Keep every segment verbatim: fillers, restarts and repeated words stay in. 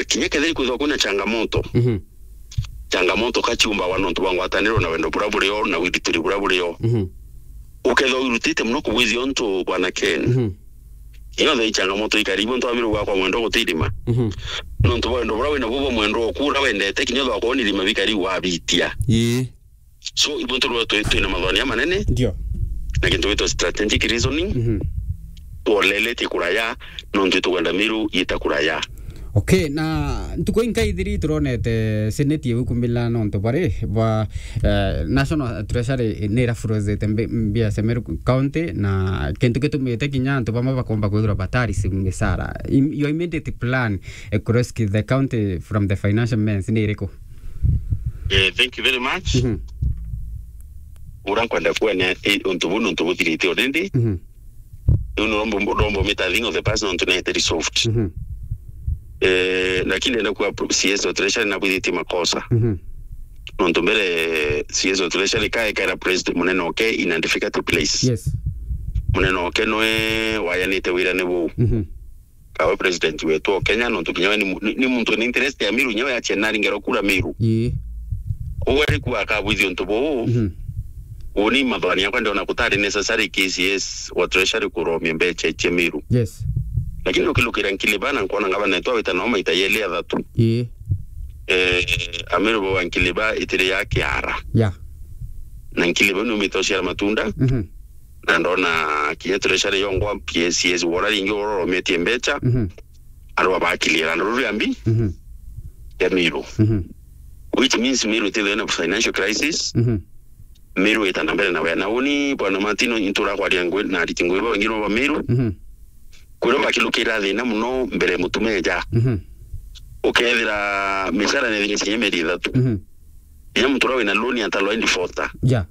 kinya kethira ikwithwa kwina changamoto, Mhm. changamoto ka ciumbagwa nontu bwa ngwataniro na wendo buria burio na withitiri buria burio. Mhm. Ukethwa wirutite muno kubwithia untu, Bwana Ken. Mhm. Kinya thai changamoto ikari, ibo ntu wa Miru gwakwa mwendo gutirima. Mhm. Nontu bwa wendo buria wina buo bwa mwendo oku uria wendete, kinya thwa kwona irima bikari wabitia. Ii. So, ibo ntu rwa twi-, twina mathwania manene. Ndio. Na kintu gitwa strategic reasoning. Mhm. Twoleletie kuraya, nontu itukwenda Miru yita kuraya. Okay, na ntuku inkaithiri turonete Senate igukumila nontu bari bwa, eh, National Treasury ni irafurozete mbi-, mbia cia Meru County, na kintu gitumite kinya antu bamwe bakomba kwithirwa batari misara. Im-, your immediate plan, eh, ku rescue the county from the financial mess ni iriku? Eh, thank you very much. Mhm. Ura nkwenda kuania, eh, untu buu nontu buthirite already. Mhm. Riu ni rombo, rombo mita thing of the past nontu naete resolved. Mhm. Eh, lakini ndenda kuga pro-, C S wa Treasury nabwithitie makosa. Mhm. Nontu mbere C S wa Treasury kaekera president munene oke in a difficult place. Yes. Munene oke noe wayanite wira ni buu. Mhm. Kawe president wetu o Kenya, nontu kinya we ni mu-, ni, ni muntu wina interest ya Miru, kinya we achie nari ngero kura Miru. Ii. Koguo ari kuga akabwithia untu buu, Mhm. uni mathwani yakwa ndiona gutari necessary K C S wa Treasury kuromia mbecha ichie Miru. Yes. Lakini ukilukira Nkiliba na nkwona ngavana wetu awita nao maita yeli athatu. Ii. Eh, Amiru bauga Nkiliba itiri ya kiara. Yeah. Na Nkiliba ni umite uciara matunda. Mhm. Na ndona kinya treasury yongwa P S S wora ringi wora urometie mbecha. Mhm. Arua bakiliera nduru ya mbi Mhm. ya Miru. Mhm. Which means Miru itithwe na financial crisis. Mhm. Miru ita na mbere na wea. Na uni, Bwana Martino, intura kwaria ngwi, na ariti ngwi bangi no ba Miru. Mhm. Kwiro bakilukira thina muno mbere mutumeja. Mhm. Ukethira micara ni thiri cia mieri ithatu. Mhm. Inya muntu uria wina loan atalwa defaulter. Yeah.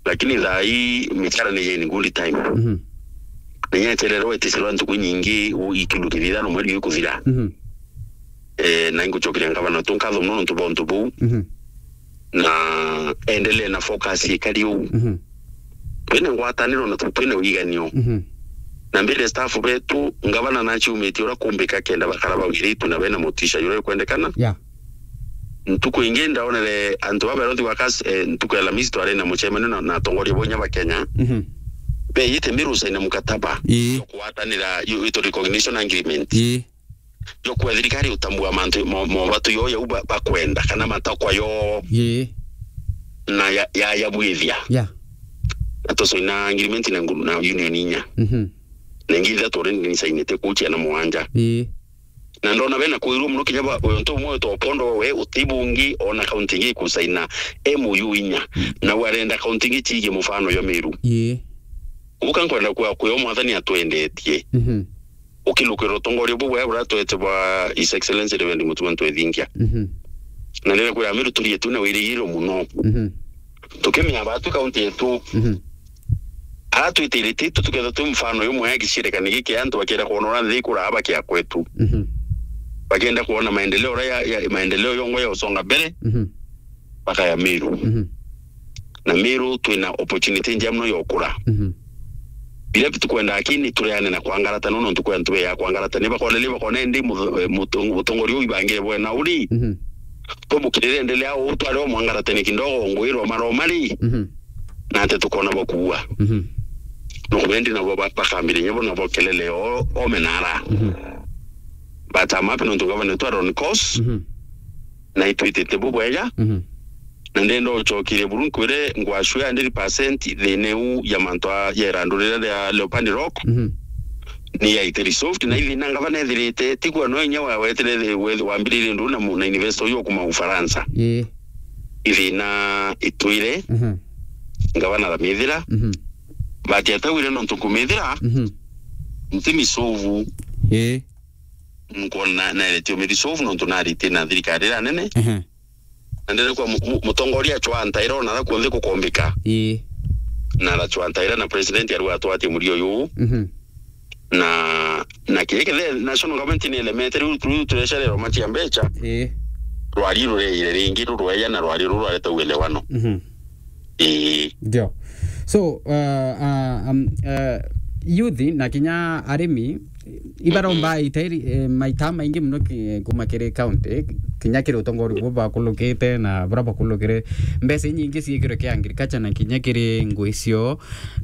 Lakini thaa hii micara ni in good time. Mhm. Na inya chererwa iticirwa ntuku nyingi, u-, ikindu kithithano mweri gikuthira. Mhm. Eh, na ingucokeria ngavana tu nkatho muno nontu bwa untu buu. Mhm. Na endelee na focus ikari uu. Mhm. Twina ngwataniro na tu-, twina wiganio. Mhm. Na mbere staff betu, ngavana naciumitie uria kumbika kenda bakara bawiritu na bena motisha juria ikwendekana. Yeah. Ntuku ingi ndaonere antu ba Health Workers, eh, ntuku ya Alhamisi twari na mucemanio na, na atongoria bonya ba Kenya. Mhm. Beyite Miru saina mukataba Ii. Jwa kugwatanira, yu-, witwa recognition agreement. Ii. Jwa kwa thirikari utambua mantu mo-, mobatu yo yau ba-, bakwenda, kana matakwa yo Ii. Na ya, ya, ya bwithia. Yeah. Na tusaina agreement na ngu-, na union inya. Mhm. Na ingi ithatu already nisainite kuchia na mwanja. Ii. Na ndona bena kwirwo muno kinya ba, untu umwe wetwa Opondo we utibungi ona kaunti ingi ikusaina M O U inya. Mm. Na warenda kaunti ingi ciige mufano yo Miru. Ii. Uka nkwenda kwa kwio mwathani atwendetie. Mhm. Ukilukira utongoria buu bwa buratwete bwa His Excellency Reverend Mutuma Ntwethingia. Mhm. Na nire kwira Miru turie tu na wirigiro muno. Mhm. Tukimenya batu kaunti yetu. Mhm. Ara twitiritie tu tukethwa twi mfano yumwe ya gicirikani giki antu bakienda kuona uria nthi ikura bakia kwetu. Mhm. Bakienda kuona maendeleo uria ya, ya, maendeleo yongwa ya usonga mbere. Mhm. Bakaya Miru. Mhm. Na Miru twina opportunity njia muno ya ukura. Mhm. Biria tukwenda akini tureane na kwangarata, no nontu kwi antu beya kwangarata. Ni bakona, ni bakona indi mu-, mutu-, mutongoria uu ibangire bwena uri. Mhm. Tumukirire endelea uu, twari o mwangaratene kidogo, ngwirwa maromari. Mhm. Na ate tukona bakuua. Mhm. No kwendi nabo ba-, bakambire nyabo nabo kelele o, o menara. Mhm. But I'm happy nontu governor twa on course. Mhm. Na itwitite bubwega. Mhm. Na ndenda ucokirie buru nkwire ngwacua hundred percent thina iu ya mantu a, ya irandu riria ria Leopard Rock. Mhm. Ni yaite resolved, na ithina ngavana ethirite, tigwa no inya wa-, wetire thi-, we-, wambiririe ndu na mu-, na investor uyu kuma Ufaransa. Ii. Ithina itwire, Mhm. ngavana aramithira. Mhm. But atawire nontu nkumithira, Mhm. nti misovu. Ii. Nkona naeretie umithi sovu nontu narite na thirikari iria nene. Ehe. Na ndere kwa mu-, mu-, mutongoria acwa ntaira ona ara kuonthe kukombika. Ii. Na aracwa ntaira na president arua atwatie murio uyu. Mhm. Na, na kiri kithe national government ni elemete riu, riu turecererwa macia mbecha. Ii. Rwari rureire ringi rurweya na rwari ruru rwareta uelewano. Mhm. Ii. Ndio. So, uh, uh, um, uh, youth na kinya arimi, Ibaromba itairi, eh, maita maingi muno ki-, kuma kiri county, kinya kiri utongori bwa bakulukite na bura bakulukire. Mbeca inyingi ciikirwe ki agriculture na kinya kiri ngui cio,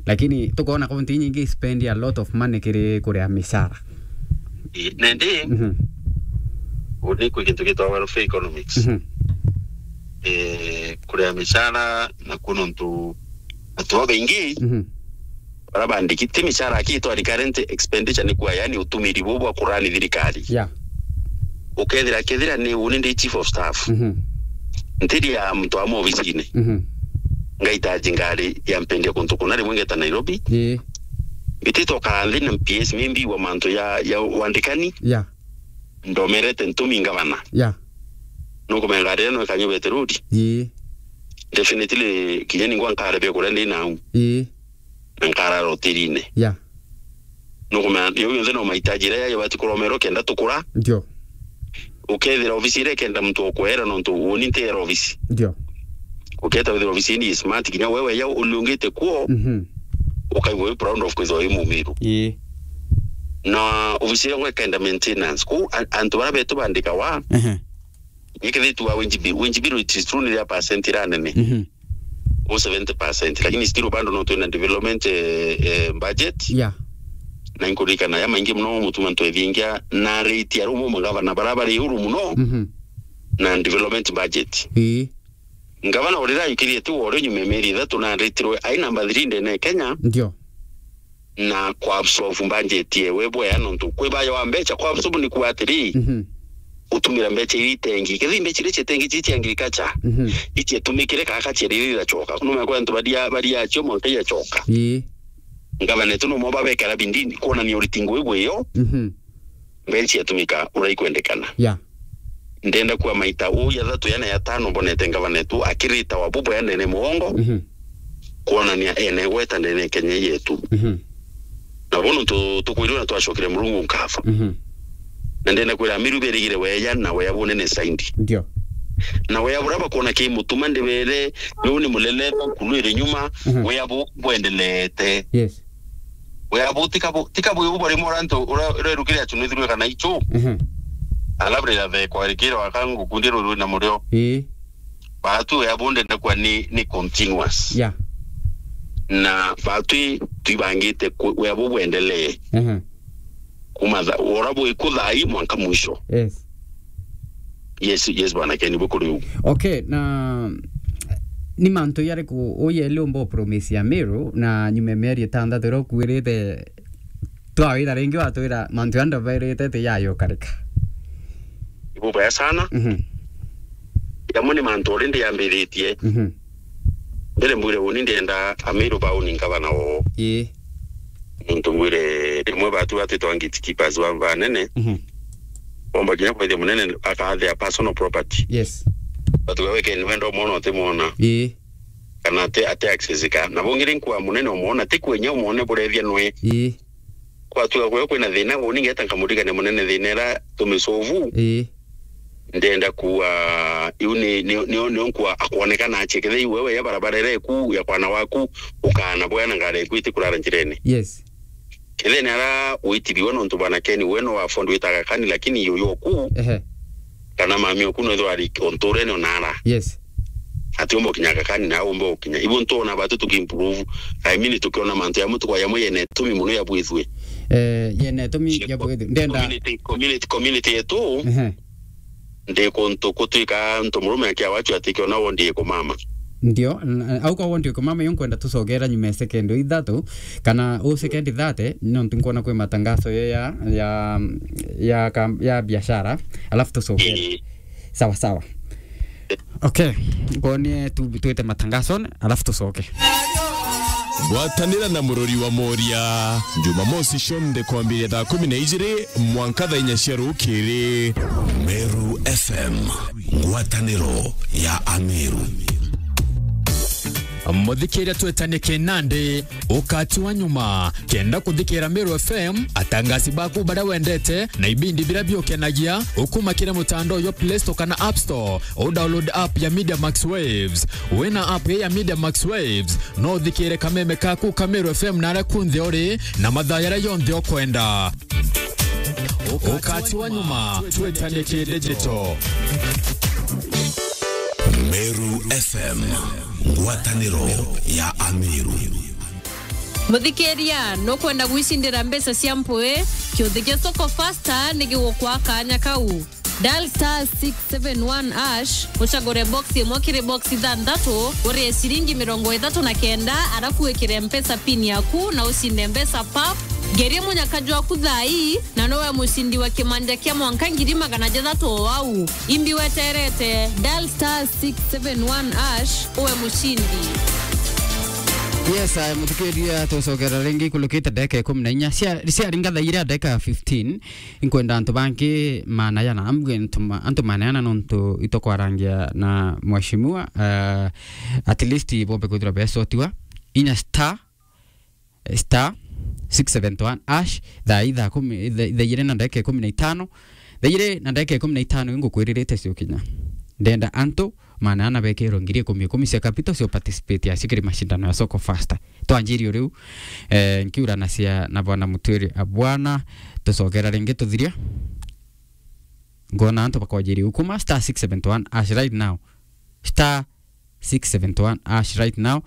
lakini tukona county inyingi spend a lot of money kiri kuria micara. Ii, nendi, Mhm. uni kwi gintu gitwa welfare economics. Mhm. Eh, kuria micara na kunontu antu babaingi Mhm. bara bandiki ti micara aki itwa recurrent expenditure ni kwa, yani utumiri bu bwa kurani thirikari. Yeah. Ukethira, kethira ni uni ndi chief of staff. Mhm. Ntiri ya mtu wa mobisine. Mhm. Ngaitaji ngari ya mpendia kuntu kuna rimwe ngeta Nairobi. Ii. Mbitite ukara nthi na P S, mimbi wa mantu ya, ya wandikani. Yeah. Ndomerete ntumi ngavana. Yeah. Nukumenya ngari ino ikanyubete road. Ii. Definitely, kinya ningwa nkare bia kuria ndi nau. Ii. Na nkarara hotelini. Yeah. Nukumenya, yo yonthe no mahitaji iria yayo bati kuromerwo kenda tukura. Ndio. Ukethira ofisi iria ikenda muntu okwera nontu uni ntiera ofisi. Ndio. Uketa withira ofisi ni smart, kinya wewe ya uliungite kuo, Mhm. ukaigua wi proud of kwithirwa wi mumiru. Ii. Na ofisi iria ngwekenda maintenance. Kou a-, antu baria betu bandikawa, Ehe. Ikethitwa winji bill, winji bill it is true ni ya percent ira nene. Mhm. O seventy percent, lakini still bado no twina development, eh, eh, budget. Yeah. Na inkuririkana ya maingi muno mutuma ntwethingia na rate ya rumo magavana bara bari uru muno Mhm. na development budget. Ii. Ngavana urira ayukirie tu wore nyuma ya mieri ithatu na aritirwe ai number three ndene ya Kenya. Ndio. Na kwa absorb budget yewe bwea nontu kwi bayo wa mbecha kwa absorb ni kuga atiri, Mhm. utumira mbecha iria itengi. Kethi mbecha iria citengi ci cia agriculture, Mhm. ici itumikire kaka cieri iracoka. Kuno mwa kwa antu baria, baria acio mwanka iacoka. Ii. Ngavana tu no mo babekara bindini, kuonania uritingo igwe yo. Mhm. Mbecha ciatumika uria ikwendekana. Yeah. Ndenda kuwa maita uu ya thatu yana ya tano mbonete ngavana etu akirita wa bubu ya ndene mugongo, Mhm. kuonania ene gweta ndene Kenya yetu. Mhm. Na bono tu-, tukwirwa na twacokire Murungu nkatho. Mhm. Na ndenda kwira Amiru berigire weya na weya bunene saindi. Ndio. Na weya buria bakuona ki mutuma ndibere, yo ni muleleta nkulwire nyuma, Mhm. weya bu-, bwendelete. Yes. Weya bu tika bu-, tika bu bari mora ntu ura, ura rukire achu nithirwe kana ichu. Mhm. Alafu rira the kwa rikira wakangu kundi ruru na murio. Ii. Batu weya bu ndenda kwa ni, ni continuous. Yeah. Na batu i-, tuibangite ku-, weya bu bwendelee. Mhm. Kuma tha-, ora bu ikuthai mwanka mwisho. Yes. Yes, yes, bwana Ken, bukuri u. Okay, na ni mantu yariku uyeli umba upromise ya Meru na nyuma ya mieri itandatu iria ukuirite twawira ringi watwira mantu ya ndabairite ti yayo karika? Ibubaya sana. Mhm. Yamwe ni mantu already yambiritie. Mhm. Mbere mbwire uni ndienda Amiru bauni ngavana oo. Ii. Muntu mbwire rimwe batu batwitwa gatekeepers ba, banene. Mhm. Bomba kinya kwithia munene akathea personal property. Yes. Batu wewe ken wenda umwona utimwona. Ii. Kana ate, ate access ka. Na bongire nkwa munene umwona, ti kwenya umwone burethia nwe. Ii. Kwatuga kwe kwina thina, uni ngeta nkamurigania munene thina ira tumisovu. Ii. Ndenda kuwa, iu ni, ni, ni, ni nkwa akwonekana ache. Kethe iu wewe ya barabara ira iku, ya kwana waku, ukana bwena ngari iku itikurara njirene. Yes. Kethe ni ara witiriwe nontu bwana Ken we no afford witaga kani, lakini yuyu oku, Ehe. kana mami oku no ithwa ari onturene onara. Yes. Ati umba ukinyaga kani na umba ukinya. Ibu ntona batu tukiimprove. I mean, tukiona mantu ya mutu kwa yamwe yene tumi muno ya bwithwe. Eh, yene tumi ya bwithwe. Ndenda. Community, community, community yetu. Ehe. Ndi kuntu kutwika ntu murume akia wachu atikiona wondi ikumama. Ndio, n-, au kwa wondi ikumama, yo nkwenda tucogera nyuma ya second ithatu, kana u second thirty, nontu nkwona kwi matangazo yo ya, ya, ya kam-, ya biashara, alafu tucogere. Ii. Sawa, sawa. Okay, ngonie tu-, twite matangazo, alafu tucoke. Gwatanira na murori wa Moria, Jumamosi cionthe kwambiria thaa kumi na ijiri mwanka thaa inya cia rukiri. Meru F M, ngwataniro ya Ameru. Muthikiria, twetanie kinandi, ukati wa nyuma. Kenda kuthikira Meru F M, atangasi baku baria wendete, na ibindi biria biukenagia, ukuma kiri mutandao jwa Play Store kana App Store, u download app ya Media Max Waves. Wina app ya Media Max Waves, no uthikire kameme kaku ka Meru F M naria kunthe uri, na mathaa jaria jonthe ukwenda. Ukati wa nyuma, twetanie ki digital. Meru F M, ngwataniro ya Ameru. Muthikiria, nukwenda gwicindira mbeca cia mpui? Kiuthi kia Soko Faster ni gigukwa kanya kau. Dial star six seven one hash, ucagure box imwe kiri box ithanthatu, urie ciringi mirongo ithatu na kenda, arafu wikire Mpesa pin yaku na ucinde mbeca pap. Ngerie munyaka jwaku thaa ii, na nowe mucindi wa kimanja kia mwanka ngiri magana jathatu o au. Imbi weterete, dial star six seven one hash, uwe mucindi. Yes, I, muthikiria, tucokera ringi ikulukite ndagika ikumi na inya. Cia, ciaringa thaa iria ndagika fifteen. Inkwenda antu bangi maana yana, ambwe antu ma-, antu maana yana nontu itokwarangia na mheshimiwa, eh, at least bombe kwithirwa besotiwa. Inya star, eh, star six seven one hash, thaa ithaa kumi, thaa, thaa igiri na ndagika ikumi na itano, thaa igiri na ndagika ikumi na itano ingukwiririte cio kinya. Ndenda antu maana ana bekirwe ngiri ikumi ikumi cia capital cio participate acio kiri mashindano ya Soko Faster. Twanjirie riu, eh, nkiuranacia na bwana Mutwiri, a bwana, tucokera ringi tuthiria. Ngona antu bakwanjiria ukuma star six seven one hash right now. Star six seven one hash right now.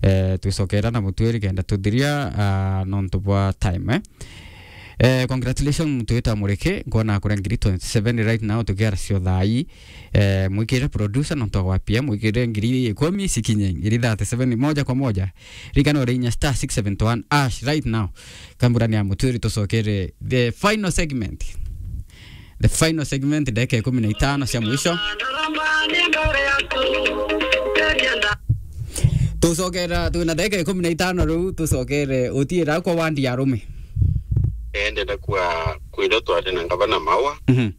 Eh, twicokera na Mutwiri kenda tuthiria, ah, nontu bwa time, eh. Eh, congratulations muntu wita Mureke, ngona akuria ngiri twenty-seven right now, tukiara cio thaa ii. Eh, mwikire producer nontu agwapia, mwikire ngiri ikumi cikinye, ngiri thirty-seven moja kwa moja. Ririkana uri inya star six seven one hash right now. Kamburani ya Mutwiri tucokere the final segment. The final segment, ndagika ikumi na itano cia mwisho. Tucokera, twina ndagika ikumi na itano riu, tucokere utiira kwa wandi ya arume. Eh, ndenda kwa kwira twari na ngavana Maua, mhm,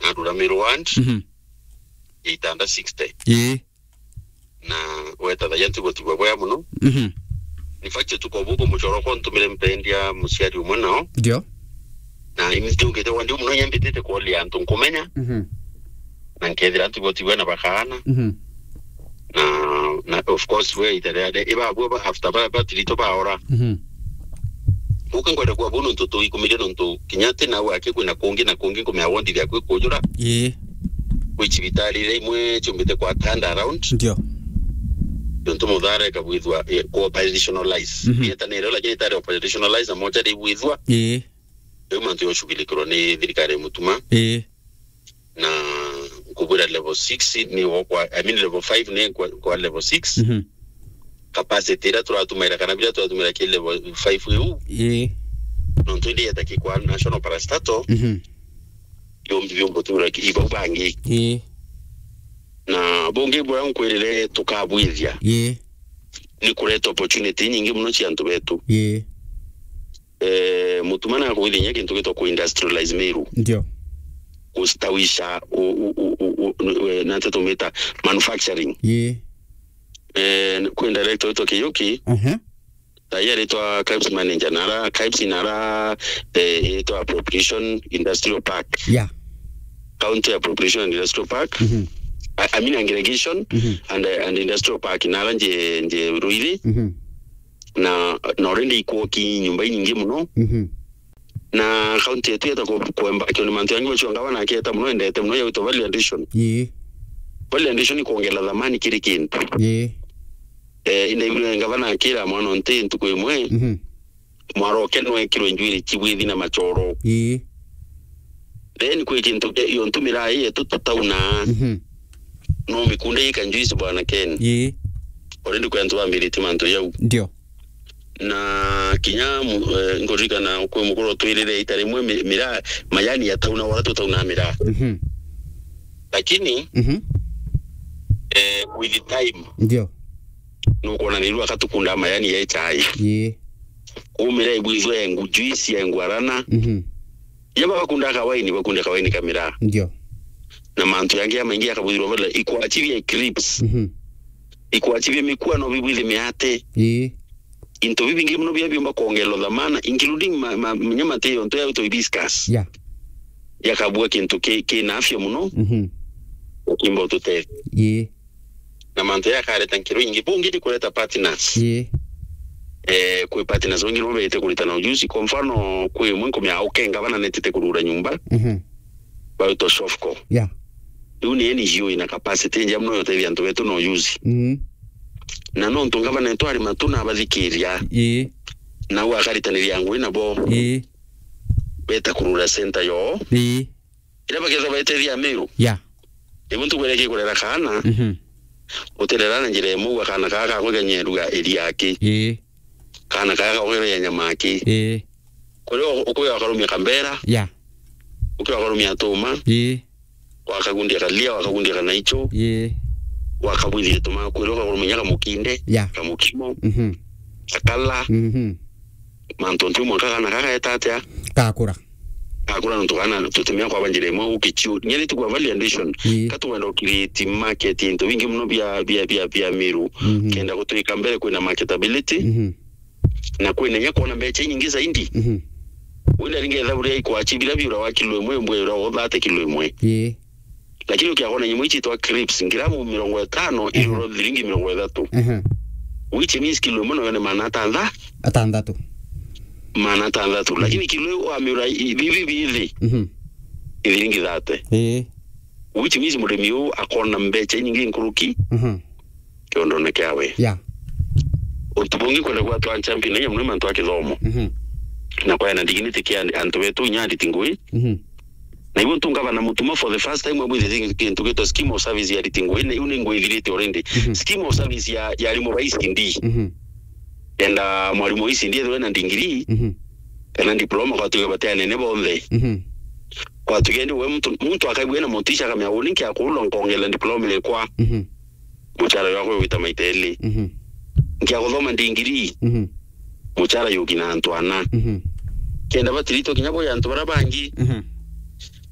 na Ruramiru ward, mhm, ya Itanda sixty. Ii. Na weta thaia ntigwo tigwa bwega muno. Mhm. In fact, tuko buku muchoro kwa ntumire mpendia muciari umwe nao. Ndio. Na ini ndiungite wandi muno nyambitite kuolia antu nkumenya. Mhm. Na nkethira ntigwo tigwa na bakaana. Mhm. Na, na of course, we itereade, iba bwe ba after ba, ba tirito baora. Mhm. Uka ngwenda kwa bono ntu tuikumirie nontu kinya ti nau aki kwina kungi na kungi nkumea wondi ria kwi kujura. Ii. Kwi cibitari iria imwe ciumbite kwa turn around. Ndio. Nontu muthara ikabwithwa, eh, kwa operationalize. Mhm. Yeta nero lakini itari operationalize na moja ibwithwa. Ii. Riu mantu yoshughulikirwa ni thirikari ya Mutuma. Ii. Na nkubwira level six ni o kwa, I mean level five ni kwa, kwa level six. Mhm. Capacity iria turatumaira kana biria turatumaira ki level five iu. Ii. Nontu indi yeta ki kwa national parastatal. Mhm. Yombi biombo tura ki ibau bangi. Ii. Na bungi buria nkwirire tukabwithia. Ii. Ni kureta opportunity nyingi muno cia antu betu. Ii. Eh, Mutuma na akwithia inya kintu gitwa ku industrialize Meru. Ndio. Kustawisha u, u, u, u, u, eh, na nteto tumita manufacturing. Ii. Eh, kwi director witwa Kiyuki. Aha. Thaia aritwa KIPES manager, nara KIPES nara, eh, itwa appropriation industrial park. Yeah. County appropriation and industrial park. Mhm. I, I mean aggregation, mhm, and, eh, and industrial park. Nara nje, nje Ruiri. Mhm. Na, na already ikwoki nyumba inyingi muno. Mhm. Na county yetu yeta ku-, kuemba kioni mantu yangi wachwa ngavana akieta muno, endete muno ya witwa value addition. Ii. Value addition ni kuongela thamani kiri kintu. Ii. Eh, ina ibiro ngavana akira mwana nti ntuku imwe. Mhm. Mwaro uke nwekirwe njwiri chibwithi na machoro. Ii. Then kwi kintu ke-, iyo ntumira ii yetu tutauna. Mhm. No mikunda ika njuici bwana Ken. Ii. Already kwi antu bambirite mantu yau. Ndio. Na kinya mu-, eh, nkuririkana kwi mukuru twirire ita rimwe mi-, miraa, majani yatauna wara tutauna miraa. Mhm. Lakini, mhm, eh, with time, ndio, nukwona ni riu akatukunda majani ya chai. Ii. Kumira ibwithwe engu juice ya engu arana. Mhm. Ya bakunda kawaini, bakunda kawaini ka miraa. Ndio. Na mantu yangi ya maingi akabwithirwa bala ikwachibia eclipse. Mhm. Ikwachibia mikua no bibwithi miate. Ii. Into bibingi muno bia biumba kuongelwa dhamana, including ma, ma, nyama te yonto ya wito hibiscus. Yeah. Yakabua kintu ki, ki na afya muno. Mhm. Ukimba ututethia. Ii. Na mantu yakareta nkiro ingi, bungi ni kureta partners. Ii. Eh, kwi partners bangi no beete kuritana ujuzi. Kwa mfano, kwi imwe nkumia ukenga bana netite kurura nyumba, Mhm. baitwa Shofco. Yeah. Riu ni N G O ina capacity nja mono ya utethia antu betu na ujuzi. Mhm. Na nontu ngavana wetu ari matu na abathikiria, Ii. na u akaritaniria ngugi nabo, Ii. beta kurura center yoo. Ii. Ira bakethwa baitethia Meru. Yeah. Ibu ntukwire kikurera kaana, Mhm. utirera na njira imwe, uga kaana kaa gakwiga nyeru ya iri yaki. Ii. Kaana kaa gakwiga nyama yaki. Ii. Kuria u-, ukuya ukarumia kambera, Yeah. ukia ukarumia tuma, Ii. wakagundia kalia, wakagundia kanaicho, Ii. wakabwithia tuma, kuria ukakurumia kamukinde, Yeah. kamukimo, Mhm. kakala, Mhm. mantu ntu mwanka kana kagaeta atia? Gakura. Gakura nontu kana tutimea kwaba njira imwe ukichiu. Nyeri tu kwa value addition. Ii. Katuwenda ukiriti market into bingi muno bia, bia, bia, bia Meru. Mhm. Kenda gutwika mbere kwina marketability. Mhm. Na kwina inya kwona mbecha inyingi zaidi. Mhm. Wina ringi etha buria ikwachi bila biura wa kilo imwe, mbwe ura wa thirty kilo imwe. Ii. Lakini ukiakona nyamũ ici itwa crisps, ngiramu mirongo itano, Ehe. iruro thiringi mirongo ithatu. Ehe. Which means kilo imwe nayo ni maana atantha-, Atantatu. maana atantatu. Mhm. Lakini kilo iu wamiura i-, bibi bithi, Mhm. ithiringi thate. Ii. Which means murimi uu akona mbecha inyingi nkuruki Mhm. kiondone kiawe. Yeah. Untu bungi kwenda gwatwa champion na inya muno mantu a kithomo. Mhm. Na kwaya na dignity kia antu betu inya ariti ngui. Mhm. Na ibu ntu ngavana Mutuma for the first time abwithitie kintu gitwa scheme of service ya ariti ngui. Na iu ni ngwithirite already. Mhm. Scheme of service ya, ya arimu ba E C D. Mhm. Enda mwarimu wa E C D ethirwe na degree, Mhm. kana diploma, kwatuge bati anene bonthe. Mhm. Kwatuge ndi we muntu, muntu akaigua na motisha akamea, "Uni nkia kurula nkongela diploma ikwa." Mhm. Muchara jwakwa gwita maita eli. Mhm. Nkia guthoma degree. Mhm. Muchara yuki na antu ana. Mhm. Kenda batirito kinya bo ya antu bara bangi. Mhm.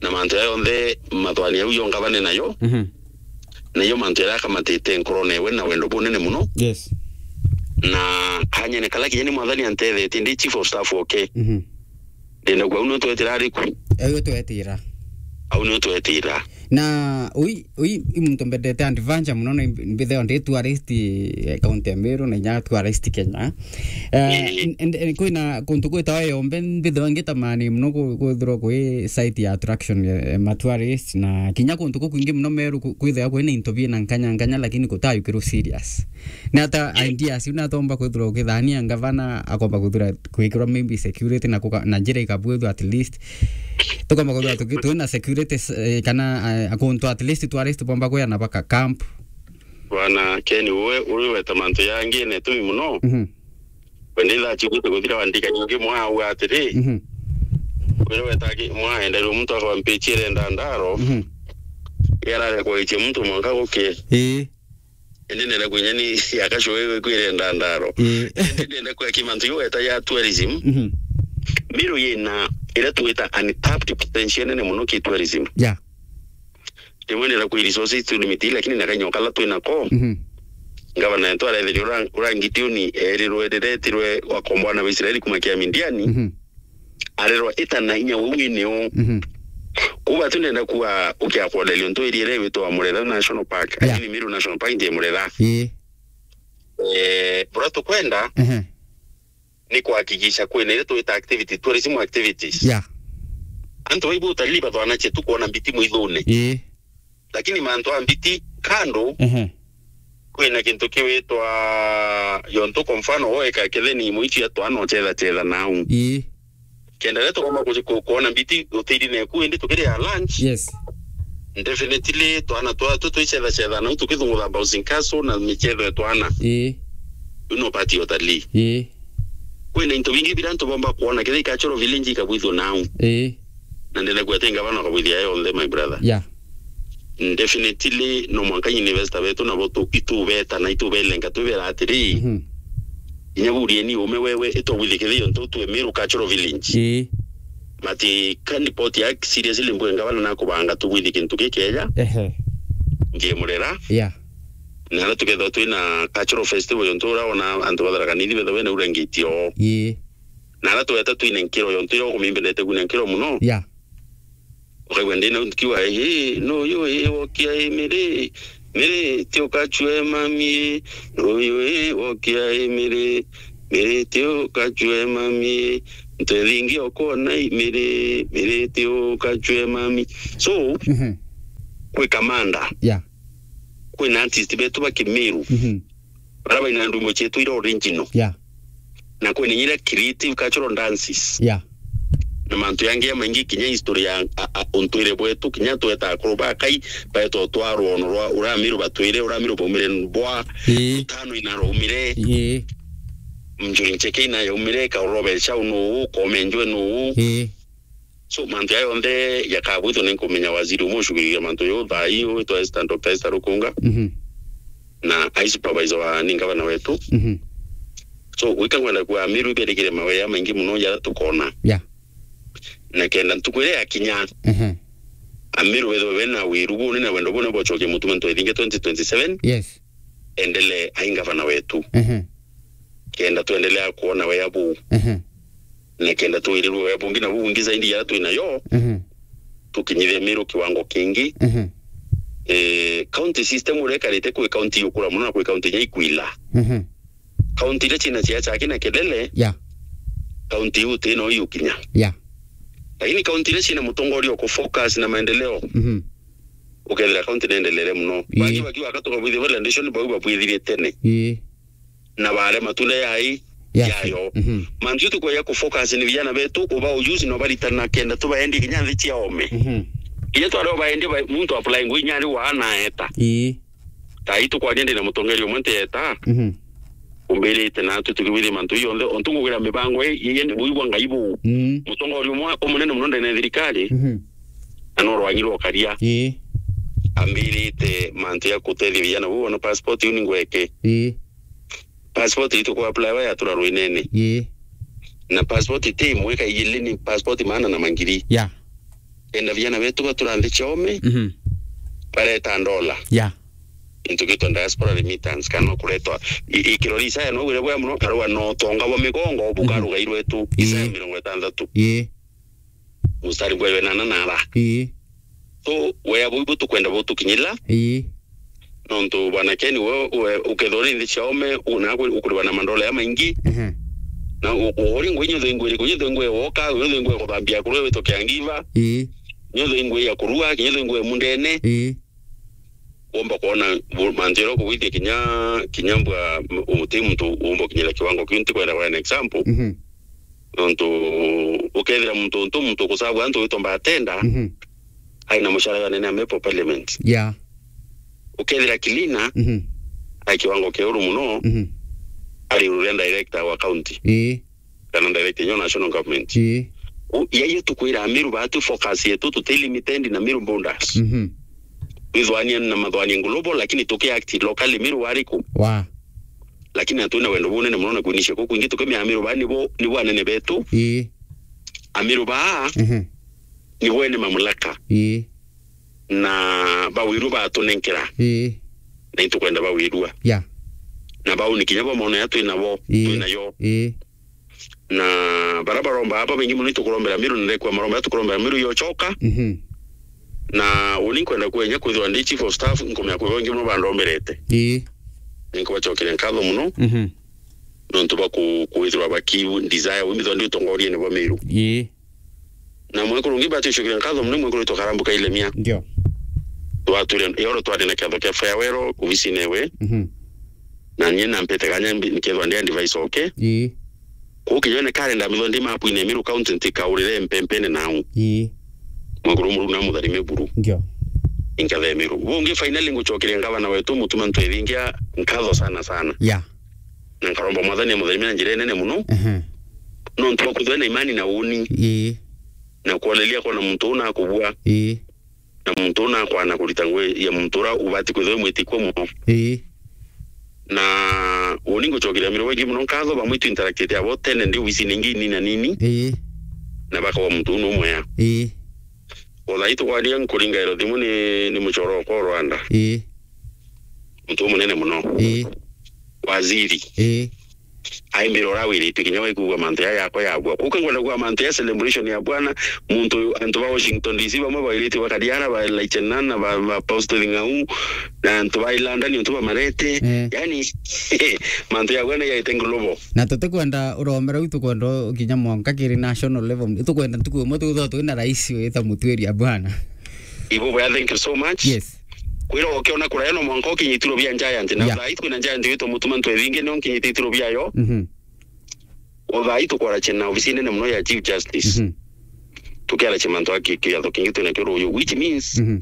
Na mantu ya yonthe mathwani au yo ngavane nayo. Mhm. Na iyo mantu yaria akamatite nkorone we na wendo bunene muno. Yes. Na kanyene kala kinya ni mwathani antethetie ndi chief of staff oke. Mhm. Ndenda kwa uno twetira ariku. Ayo twetira. Au nio twetira. Na ui, ui, i muntu mbendete adventure muno, na mbitheo ndi tourist, eh, county ya Meru, na inya tourist Kenya. Eh, Ii. n-, n-, n-, kwina kuntu gwitawa Yombe, mbitheo ngitamani muno ku-, kwithirwa kwi site ya attraction ya, ya ma tourist, na kinya kuntu kukwingi muno Meru ku-, kwithirwa kwina into bina nkanya nkanya, lakini kutayukirwo serious. Ni ata Ii. ideas iu ni atomba kwithirwa ukithania ngavana akomba kwithirwa kwikirwa maybe security na kuka-, na njira ikabwithwa at least. Tukomba kwithirwa tuki-, twina security s-, eh, kana, eh, akuntu at least tourist bomba kwiyana baka camp. Bwana Ken, we uri weta mantu yangi na itumi muno. Mhm. Wende itha chiugite guthira wandika nyingi mwa au atiri. Mhm. Wire weta ki-, mwa enderwe muntu akwa mpichi irenda ndaro. Mhm. Yarare kwa ichi muntu mwanka guke. Ii. Indi ndenda kwinya ni ya kasho wewe kwirenda ndaro. Ii. Indi ndenda kwa kimantu yo eta ya tourism. Mhm. Miru yina ira tuwita untapped potential nene muno ki tourism. Yeah. Rimwe ndenda kwi resources tu limit, lakini na kanyo kala twina ko. Mhm. Ngavana yetu arethirio ura-, urangitiuni erirwe riretirwe wakombwa na Israeli kuma kia Midiani. Mhm. Arerwa ita na inya uu wini uu. Mhm. Kuba tu ndenda kuwa ukia kwoderia untu area ira witwa Murera National Park. Yeah. Lakini Meru National Park ndi Murera. Ii. Eh, bura tukwenda Ehe. ni kuhakikisha kwina ire twita activity, tourism activities. Yeah. Antu baibu utalii bathwanache tu kuona mbiti mwithune. Ii. Lakini mantu a mbiti kando, Ehe. kwina kintu kiwitwa yontu, kwa mfano, woeka ketheni imwe icio ya twana uchetha chetha nau. Ii. Kenda ria tukomba ku-, ku-, kuona mbiti utiri neku indi tukiria lunch. Yes. Definitely, twana twa tu twichetha chetha nau tukithungutha bouncing castle na michetho ya twana. Ii. Iu no part ya utalii. Ii. Kwina into bingi bira antu bomba kuona, kethira i cultural village ikabwithua nau. Ii. Na ndenda kwete ngavana akabwithia yonthe, my brother. Yeah. Definitely, no mwanka investor betu nabo tu-, itubeta na itubelenga, twibera atiri, Mhm. inya burieni ume wewe itobwithikithio ntu twe Meru Cultural Village. Ii. Mati kandi poti ya seriously mbwe ngavana na kubanga tubwithi kintu gikeja. Ehe. Ngie Murera. Yeah. Na ara tukethwa twina cultural festival yontu ura ona antu batharaka nithi betha wena ura ngiti o. Ii. Na ara tweta twine nkiro yontu yo kumimbendete kuna nkiro muno. Yeah. Ukaigua ndina kiwa, "Ii, no yo, ii, wokia, ii, Miri, Miri, ti ukachue mami, no yo, ii, wokia, ii, Miri." Miriti ukachwe mami, ntu ithingi okona i, miri, miriti ukachwe mami. So, Mhm. kwi kamanda, Yeah. kwi na artist betu ba Kimiru, Mhm. bara baina ndumbo cietu ira original. Yeah. Na kwi na inya ira creative cultural dances. Yeah. Na mantu yangi jamaingi, kinya history ya, a, a, untwire bwetu, kinya tweta akuru ba Kai, baeta utwarwa ono rwa, uria Amiru batwire, uria Amiru baumire bwa, Ii. Utano ina raumire. Ii. Mjuri Ncheke ina yaumire, Kaurobere Chau nuu, Koome Njwe nuu. Ii. So, mantu jaya jonthe jakabwithwa ni nkumenya waziri umwe ushughulikia mantu jau thaa ii, witwa Esther, Doctor Esther Rukunga. Mhm. Na ai supervisor wa ni ngavana wetu. Mhm. So, gwika ngwenda kuga Amiru iberikire mawea maingi muno jaria tukona. Yeah. Na kenda ntuku iria yakinya, Mhm. Amiru bethwe bena wiru buni na wendo buni bochokia mutuma ntwethinge twenty twenty-seven. Yes. Endele ai ngavana wetu. Mhm. Kenda twendelea kuona wea buu. Mhm. Na kenda twirirwe wea bungi na buu bungi zaidi ya twinayo, Mhm. tukinyithie Miru kiwango kingi. Mhm. Eh, county system uria ikarite kwi county yukura muno na kwi county inya ikwila. Mhm. County iria cina siasa aki na kelele, Yeah. County iu ti no yukinya. Yeah. Lakini county iria cina mutongoria uku focus na maendeleo, Mhm. ukethira county neendelere muno. Ii. Bangi bakiuga ka tukabwithia validation, bau babwithirie tene. Ii. Na bare matunda yai, Yayo. Yayo. Mhm. Mantu tukweja ku focus ni vijana betu, uba ujuzi na ubaritana kenda tubaendie kinya nthi cia ome. Mhm. Kinya tware ubaendie ba, muntu apply ngui nyari wa na eta. Ii. Tai tukwaria ndi na mutongeria umwe nti eta. Mhm. Umbirite na tu tukibwithia mantu jonthe, ontu ngugira mibango i, i, i, buigwa Ngai bu. Mm. Mutongeria umwe umunene muno ndene thirikari. Mhm. Na no rwagi rwa ukaria. Ii. Ambirite mantu ya kutethia vijana bu, ona passport iu ni ngweke. Ii. Passport itu ku apply wa yatura rwinene. Ii. Na passport iti imwe ka igiri, ni passport maana na mangiri. Yeah. Kenda vijana betu batura nthi cia ome, Mhm. bareta ndola. Yeah. Into gitwa diaspora remittance, kana no kuretwa. I, i kirori Isaya no wire bwa muno, karua no tonga bwa migongo, bukarugairwe tu. Ii. Isaya mirongo itantatu. Ii. Mustari bwa wenana na ara. Ii. So, wea buu ibu tukwenda butukinyila. Ii. Nontu bwana Ken, we, we, ukethirwa uri nthi cia ome, u-, na kwi-, ukuriwa na mandola ya maingi. Ehe. Na u-, u-, uri ngui nyotho ingwe iriku, nyotho ingwe woka, nyotho ingwe kuthambia kurua witwa caregiver. Ii. Nyotho ingwe ya kurua, nyotho ingwe mundene. Ii. Womba kwona bu-, mantu jaria ukugwithia kinya, kinya mbwa, m-, uti muntu womba ukinyira kiwango kiu, ntikwenda kwa an example. Mhm. Nontu ukethira muntu, untu muntu kucagua antu witwa Mbatenda, Mhm. aina mucara jwa nene amepo parliament. Yeah. Ukethira Kilina, Mhm. ai kiwango kia uru muno, Mhm. ari iguru ria director wa county. Ii. Kana director nyo national government. Ii. U-, ya iyo tukwira Amiru batu focus yetu tuti limited na Miru borders. Mhm. Withwanie na mathwanie global, lakini tuki act locally Miru wariku. Wa. Lakini atwina wendo bunene muno na kwinicia ku kwingi tukimia Amiru ba nibo, nibo anene betu. Ii. Amiru ba Mhm. nibo ene mamlaka. Ii. Na bawirua batunenkera. Ii. Na itukwenda bawirua. Yeah. Na bau ni kinya bo mono ya twinabo, Ii. Twinayo. Ii. Na bara baromba aba baingi muno itukurombera Miru, na ndekwa maromba itukurombera Miru yochoka. Mhm. Na uni nkwenda kwenya kwithirwa ndi chief of staff, nkumenya kwi baingi muno bandomberete. Ii. Ninkubachokeria nkatho muno. Mhm. Nontu bwa ku-, kwithirwa baki desire wimithwa ndi utongoriene bwa Miru. Ii. Na mwekuru ungi bati ucokeria nkatho muno, mwekuru witwa Karambu Kailemia. Ndio. Twatwire, yoro twari na kiatho kia farewell ofisine ewe. Mhm. Na nie nampete kanya mbi-, nikethwa ndi advice oke. Ii. Kuu kinyone kalenda mithwa ndi mapuine Miru County ntikaurire mpempene nau. Ii. Mwekuru Murungu na mutharime buru. Ndio. Inkathe Miru. Bungi finally ngucokeria ngavana wetu Mutuma Ntwethingia nkatho sana sana. Yeah. Na nkaromba Mwathani amutharimie na njira inene muno. Ehe. Nontu bwa kwithirwa na imani na uni. Ii. Na kwoneria kwona muntu uu nakubua. Ii. Na muntu uu nakwana kurita ngugi ya muntu uria ubati kwithirwa wi mwitikua muno. Ii. Na uni ngucokeria Miru baingi muno nkatho, bamwe itu interactite abo tene ndi ofisine ingi nini na nini. Ii. Na bakagwa muntu uu numwea. Ii. O thaa ii tukwaria nkuringairwa thimu ni, ni muchoro okwa o Rwanda. Ii. Muntu umunene muno. Ii. Waziri. Ii. Aimbira uria wiritue kinya waigua mantu ya yakwa yabua. Kuka ngwenda kuga mantu ya celebration ya bwana, muntu, antu ba Washington D C bamwe bairitie bakariara, ba Laichenan, na ba, ba Apostle Ng'au, na antu ba Ilanda, ni antu bamarete. Eh. Yani, mantu ya bwana yaite global. Na tutikwenda uromera u, tukwenda kinya mwanka kiri national level. Tukwenda ntuku imwe tuthoo twina rais wita Mutuiria bwana. Ibo bwa, thank you so much. Yes. Kwira ukiona kuraya no mwanka ukinyitiro bia Giant. Na Yeah. Thaa hii kwina Giant witwa Mutuma Ntwethingi, nio nkinyite itiro biayo. Mhm. O thaa hii tukwaracia na ofisi nene muno ya Chief Justice. Mhm. Tukiaracia mantu aki kiatho kingi twina kio ruyu, which means Mhm.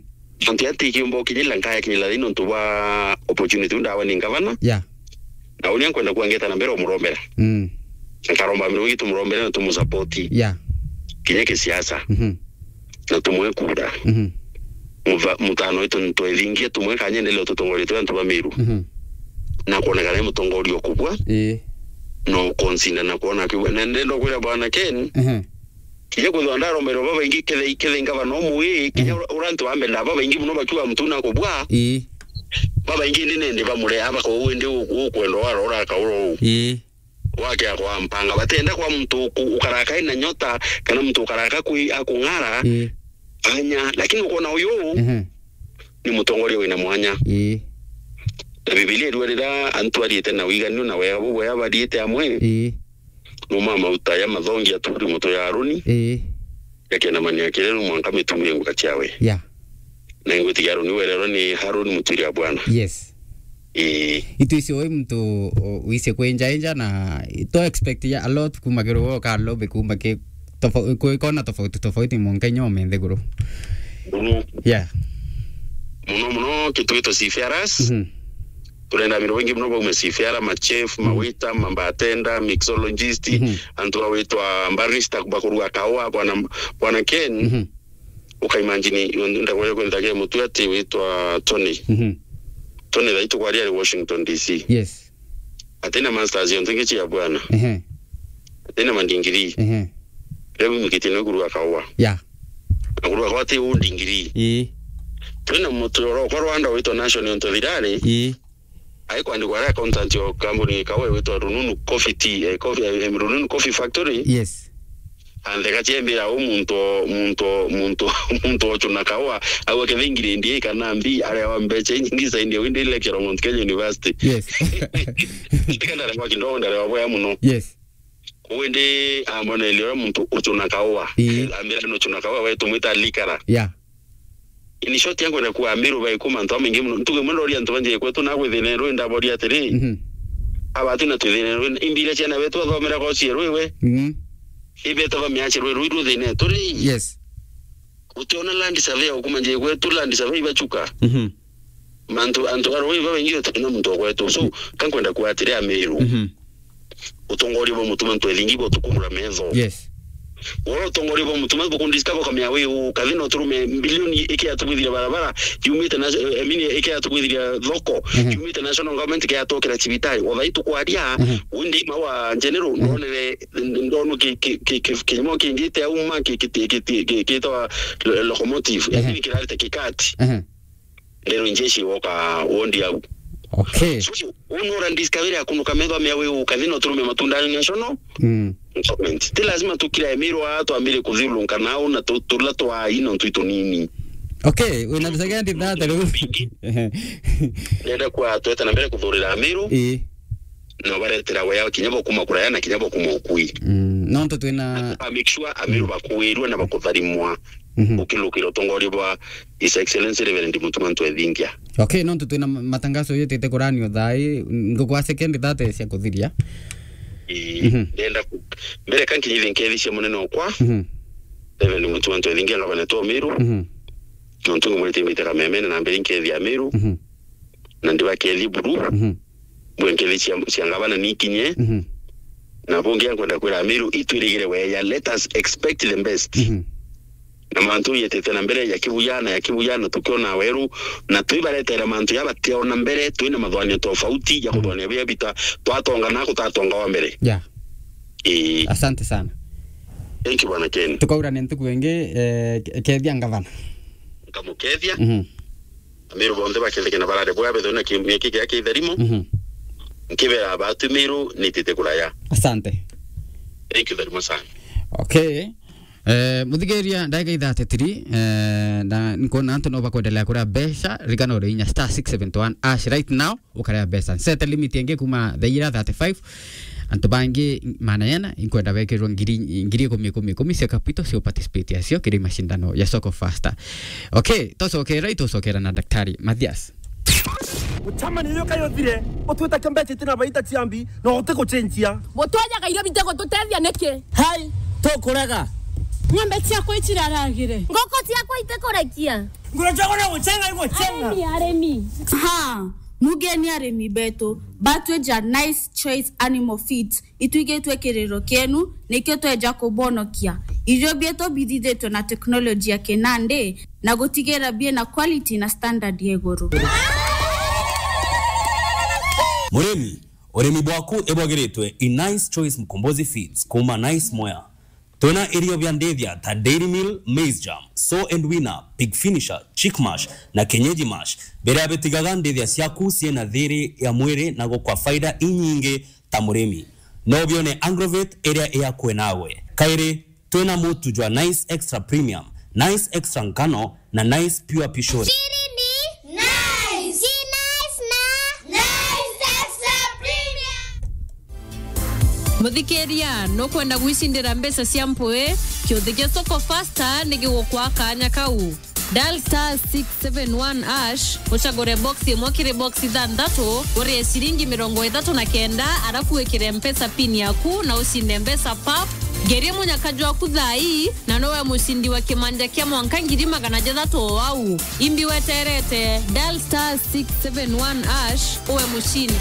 mantu ya ti kiumba ukinyila nkaya kinyila thina nontu bwa opportunity ndawa ni ngavana. Yeah. Na uria nkwenda kuangeta na mbere umurombera. Mm. Nkaromba mbere wingi tumurombere na tumusapoti. Yeah. Kinya kisiasa. Mhm. Na tumwe kura. Mhm. Mutha-, mutano wetu ntwethingie tumwe kanyendelea tutongoria twa antu ba Meru. Mhm. Na kuonekana ni mutongoria ukubwa. Ii. No consider na kuona kiu. Na ndenda kwira bwana Ken. Mhm. Kinya kwithwa ndaromero babaingi kethe, kethe ngavana umwe ii, kinya Mhm. ura, ura antu bambenda babaingi muno bakiuga mtu na kubwa. Ii. Babaingi ndi nende bamurea bako uu ndi u-, ukwenda warora kauro uu. Ii. Wake akwa mpanga. Batenda kwa mtu uku-, ukaraka ina nyota, kana mtu ukaraka kwi akung'ara, Ii. Anya. Lakini ukona uyu Mhm. ni mutongoria wina mwanya. Ii. Na Bibilia irua rira antu ariite na wiganu na wega bubwea bariite amwe. Ii. Numa mauta ya mathongi aturi muto ya Aroni. Ii. Yakenamania kireru mwanka mitumie nguka ciawe. Yeah. Na ingwitiga Aroni wererwa ni Haruni Mutuiria bwana. Yes. Ii. Itu icio wi muntu u-, wise kwinjainja na to expect ya a lot kuma kiri woka lobby kuma ki tofau-, kwi kona tofauti tofauti mwanka inya ume nthiguru. Muno. Yeah. Muno muno kitwitwa seafarers. Mhm. Turenda Amiru baingi muno baume seafarer, ma chef, ma Mhm. waiter, ma bartender, mixologist, Mhm. antu bawitwa barista bakuruga kaua, bwana, bwana Ken. Mhm. Ukaimagine, ndagwire kwinthagia mutu ati witwa Tony. Mhm. Tony thaa itu kwari ari Washington D C. Yes. Atina masters yonthe ngichi ya bwana. Ehe. Atina mandingiri. Ehe. Riu mikitie no kuruga kaua. Ya. Na kuruga kaua ti u ndingiri. Ii. Twina mutu oro kwa Rwanda witwa National Ntothirari. Ii. Aikwandikwa ari accountant o kambuni kawe witwa Rununu Coffee Tea, eh, coffee, eh, Rununu Coffee Factory. Yes. Antheka ciembira u muntu o, muntu o, muntu, muntu ochuna kaua, au akethingire ndi kana mbi, aria wa mbecha inyingi zaidi ya windi lecturer Mount Kenya University. Yes. Ndikenda kwa kidogo ndare wa boya muno. Yes. Kwindi ambona ile muntu ochuna kaua. Ii. Ambira no ochuna kaua wetu mwita likara. Yeah. In short, yangu na kuwa Amiru bai kuma antu amaingi muno. Ntuge muno ria antu banjie kwetu na gwithine rwi ndaboria atiri. Mhm. Aba twina twithine rwi, imbira ciana betu bathomera kwa cie rwi we. Mhm. Ibeta ba miache rwi, rwi ruthine turi. Yes. Utiona land survey ukuma nje kwetu, land survey bachuka. Mhm. Mantu, antu arwi babaingi utina muntu wa kwetu. So, kankwenda kuwa atiri Amiru. Mhm. Utongoria bwa mutuma ntwethingi bwa tukumura metho. Yes. Wala utongoria bwa mutuma bukundisika bukamea wi u, kathina uturume mbilioni iki yatubwithiria barabara, yumite na, eh, I mean, iki yatubwithiria thoko, Mhm. yumite national government iki yatwakira cibitari. O thai tukwaria, Mhm. windi ima wa general, Mhm. ndonere, ndonu ki, ki, ki, ki, kinyumo kingite auma ki, ki, ki, ki, ki, kitwa lo-, locomotive, Mhm. yani kirarite kikati. Mhm. Ndero injeshi woka wondi au. Okay. So, unora discovery ya kunuka metho mea we ukathina uturume matunda national Mm. government. Ti lazima tukira Emiru aa twambire kuthiurunka nao na tu-, tula twa ino ntwi tunini. Okay, wina the second that riu. Nenda kwa twete na mbere kuthurira Amiru. Ii. Na baretera wea kinya bokuma kuraya na kinya bokuma ukui. Mm, nontu twina a make sure Amiru bakuirwe na bakutharimwa. Mhm. Ukilukira utongoria bwa His Excellency Reverend Mutuma Ntwethingia. Okay, nontu twina ma-, matangazo yutite kuranio thaa ii, ngukwa second thirty cia kuthiria. Ii, Mhm. ndenda ku-, mbere ka nkinyithie nkethi cia munene okwa, Mhm. Reverend Mutuma Ntwethingia, ngavana wetu wa Meru, Mhm. nontu ngumwite mbite kamemene na mbere nkethi ya Meru, Mhm. na ndibakethi buru. Mhm. Mbwe nkethi cia, cia ngavana nikinye. Mhm. Na bungi nkwenda kwira Amiru, itwirigire weya, let us expect the best. Mhm. Na mantu yetete na mbere ya kibuya na ya kibuya, na tukiona weru, na twibaretera mantu ya bationa mbere, twina mathwanio tofauti ya Mhm. kuthwania bia bita, twatonga na kutatonga wa mbere. Yeah. Ii. Asante sana. Thank you, Bwana Ken. Tukaurane ntuku ingi, eh, ke-, kethia ngavana. Nkamukethia. Mhm. Amiru bonthe bakethike na barare bwa betho na kiumia kiki ya kitharimo. Mhm. Nkibera batu Meru nitite kuraya. Asante. Thank you very much, sir. Okay. Eh, muthikiria, ndagika ithathatiri, eh, na nkuona antu no bakwendelea kuria mbeca, ririkana uri inya star six seven one hash right now, ukaria mbeca. Set limit ingi kuma thaa ira thirty-five, antu bangi maana yana, inkwenda bekirwe ngiri, ngiri ikumi, ikumi, ikumi cia capital cia participate yacio kiri mashindano ya Soko Faster. Okay, tucokera, itucokera na Daktari Mathias. Gucamania iyo kayo thire, utwita kiombe citi na baita ciambi, no uti gucenjia. Gutwajaga irio bite gututethia niki? Hai, tukurega. Ng'ombe ciakwa iciraragire. Ngoko ciakwa itikurekia. Nguru ciakwa no gucenga igucenga. Arimi, arimi. Ha, mugeni arimi betu, batweja Nice Choice Animal Feeds. Itwigitwe kiriro kienu, nikio tweja kubonokia. Irio bietu bithithitwe na teknoloji ya kinandi, na gutigira biina quality na standard ya iguru. Murimi, urimi bwaku ibwagiritwe i Nice Choice Mkombozi Feeds kuma Nice Mwea. Twina irio bia ndithia ta Dairy Meal, Maize Germ, Sow and Weaner, Pig Finisher, Chick Mash na Kienyeji Mash, biria bitigaga ndithia ciaku ciina thiri ya mwiri na gukwa faida inyingi ta murimi. No bione Agrovet iria iakwe nawe. Kairi, twina mutu jwa Nice Extra Premium, Nice Extra Ngano na Nice Pure Pishori. Siri ni Nice. Ni Nice na Nice Extra Premium. Muthikiria, nukwenda gwicindira mbeca cia mpui? Kiuthi gia Soko Faster ni gigukwa kanya kau. Dial star six seven one hash, ucagure box imwe kiri box ithanthatu, urie ciringi mirongo ithatu na kenda, arafu wikire Mpesa pin yaku na ucinde mbeca pap. Ngerie munyaka jwaku thaa ii, na nowe mucindi wa kimanja kia mwanka ngiri magana jathatu o au. Imbi weterete, dial star six seven one hash, uwe mucindi.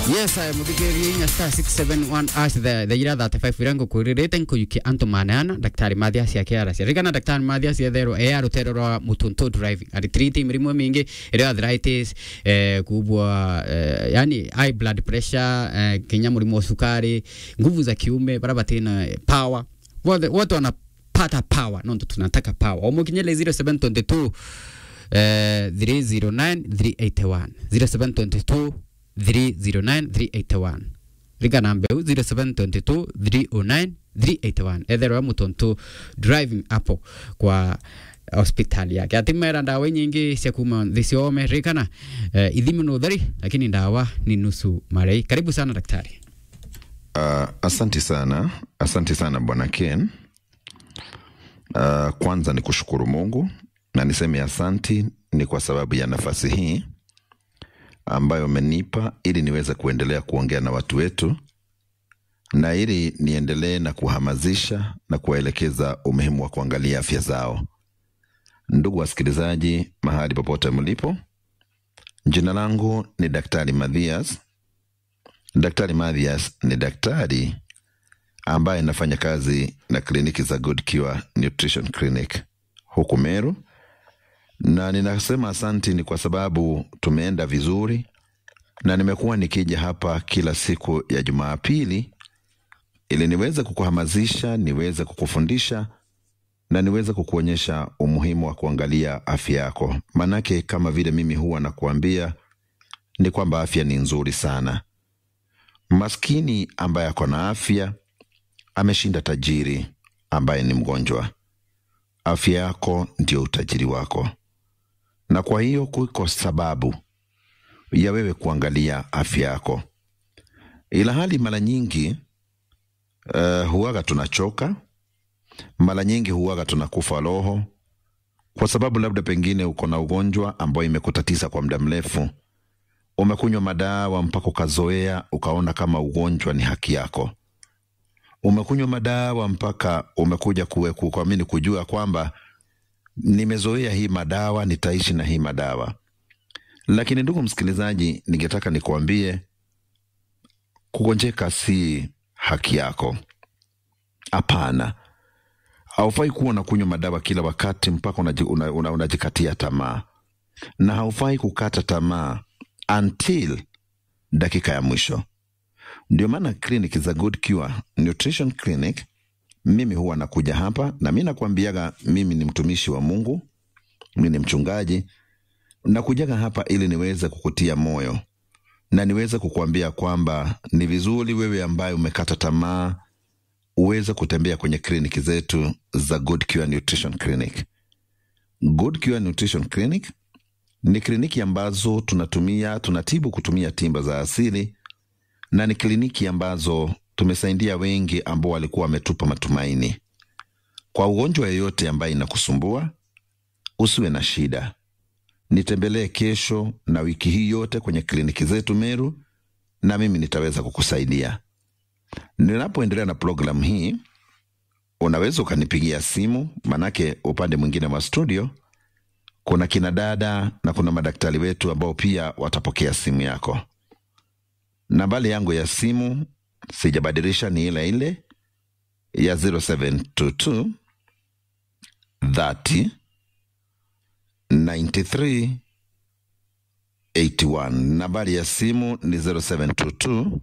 Yes, I am muthikiria inya star six seven one hash, the, the ira thirty-five iria ngukwiririte nkujukia antu maneana, Daktari Mathias akiaracia. Ririkana Daktari Mathias etherwa e a rutere rwa Mutuntu Driving. Ari treat mirimo mingi, iria arthritis, eh, kubwa, eh, yani high blood pressure, eh, kinya murimo wa sukari, nguvu za kiume, bara batina power. Wote, wote wanapata power, no ndo tunataka power. Omukinyele zero seven twenty two, eh, three zero nine three eight one. Zero seven twenty two, three zero nine three eight one. Ririkana mbeu zero seven twenty two, three oh nine, three eight one. Etherwa Mutuntu Driving hapo kwa hospitali yake. Ati mera ndawa nyingi cia kuma nthi ciome. Ririkana, eh, ithimi ni utheri, lakini ndawa ni nusu marei. Karibu sana daktari. Ah, asante sana. Asante sana Bwana Ken. Ah, kwanza ni kushukuru Mungu na niseme asanti ni kwa sababu ya nafasi hii ambayo umenipa ili niweze kuendelea kuongea na watu wetu na ili niendelee na kuhamasisha na kuwaelekeza umuhimu wa kuangalia afya zao. Ndugu wasikilizaji, mahali popote mlipo, jina langu ni Daktari Mathias. Daktari Mathias ni daktari ambaye anafanya kazi na kliniki za Good Cure Nutrition Clinic huku Meru, na ninasema asanti ni kwa sababu tumeenda vizuri, na nimekuwa nikija hapa kila siku ya Jumapili ili niweze kukuhamasisha, niweze kukufundisha na niweze kukuonyesha umuhimu wa kuangalia afya yako. Manake kama vile mimi huwa nakuambia, ni kwamba afya ni nzuri sana. Maskini ambaye ako na afya ameshinda tajiri ambaye ni mgonjwa. Afya yako ndio utajiri wako, na kwa hiyo kuko sababu ya wewe kuangalia afya yako. Ila hali mara nyingi, eh, huwaga tunachoka, mara nyingi huwaga tunakufa roho, kwa sababu labda pengine uko na ugonjwa ambao imekutatiza kwa muda mrefu. Umekunywa madawa mpaka ukazoea, ukaona kama ugonjwa ni haki yako. Umekunywa madawa mpaka umekuja kuwe-, ku-, kuamini, kujua kwamba nimezoea hii madawa, nitaishi na hii madawa. Lakini ndugu msikilizaji, ningetaka nikuambie, kugonjeka si haki yako. Hapana. Haufai kuwa unakunywa madawa kila wakati mpaka unaji-, una-, una-, unajikatia tamaa. Na haufai kukata tamaa until dakika ya mwisho. Ndio maana clinic za Good Cure Nutrition Clinic, mimi huwa nakuja hapa, na mimi nakwambiaga, mimi ni mtumishi wa Mungu, mimi ni mchungaji, nakujaga hapa ili niweze kukutia moyo. Na niweze kukuambia kwamba ni vizuri wewe ambaye umekata tamaa uweze kutembea kwenye kliniki zetu za Good Cure Nutrition Clinic. Good Cure Nutrition Clinic ni kliniki ambazo tunatumia, tunatibu kutumia tiba za asili, na ni kliniki ambazo tumesaidia wengi ambao walikuwa wametupa matumaini. Kwa ugonjwa yoyote ambaye inakusumbua, usiwe na shida. Nitembelee kesho na wiki hii yote kwenye kliniki zetu Meru, na mimi nitaweza kukusaidia. Ninapoendelea na programu hii, unaweza ukanipigia simu, manake upande mwingine wa studio kuna kina dada na kuna madaktari wetu ambao pia watapokea simu yako. Nambari yangu ya simu sijabadilisha, ni ile ile ya zero seven two two thirty ninety three eighty one. Nambari ya simu ni zero seven two two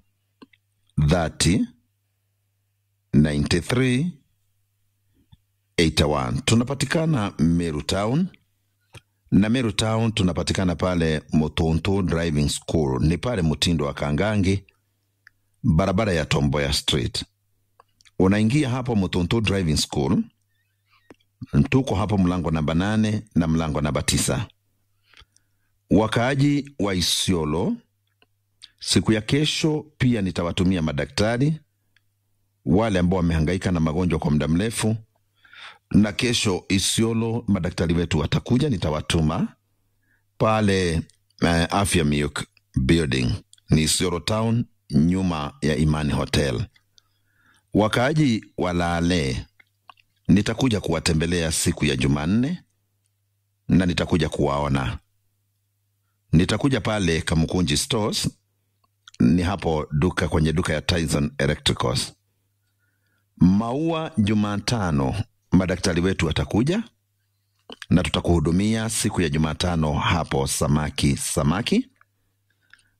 thirty ninety three eighty one. Tunapatikana Meru Town. Na Meru Town tunapatikana pale Mutuntu Driving School. Ni pale mtindo wa Kangangi, barabara ya Tomboya Street. Unaingia hapo Mutuntu Driving School, tuko hapo mlango namba nane na mlango namba tisa. Wakaaji wa Isiolo, siku ya kesho pia nitawatumia madaktari wale ambao wamehangaika na magonjwa kwa muda mrefu, na kesho Isiolo madaktari wetu watakuja, nitawatuma pale, eh, Afya Miuk Building, ni Isiolo Town, nyuma ya Imani Hotel. Wakaaji wa Lale, nitakuja kuwatembelea siku ya Jumanne na nitakuja kuwaona. Nitakuja pale Kamukunji Stores, ni hapo duka, kwenye duka ya Tyson Electricals. Maua, Jumatano madaktari wetu watakuja na tutakuhudumia siku ya Jumatano hapo Samaki Samaki.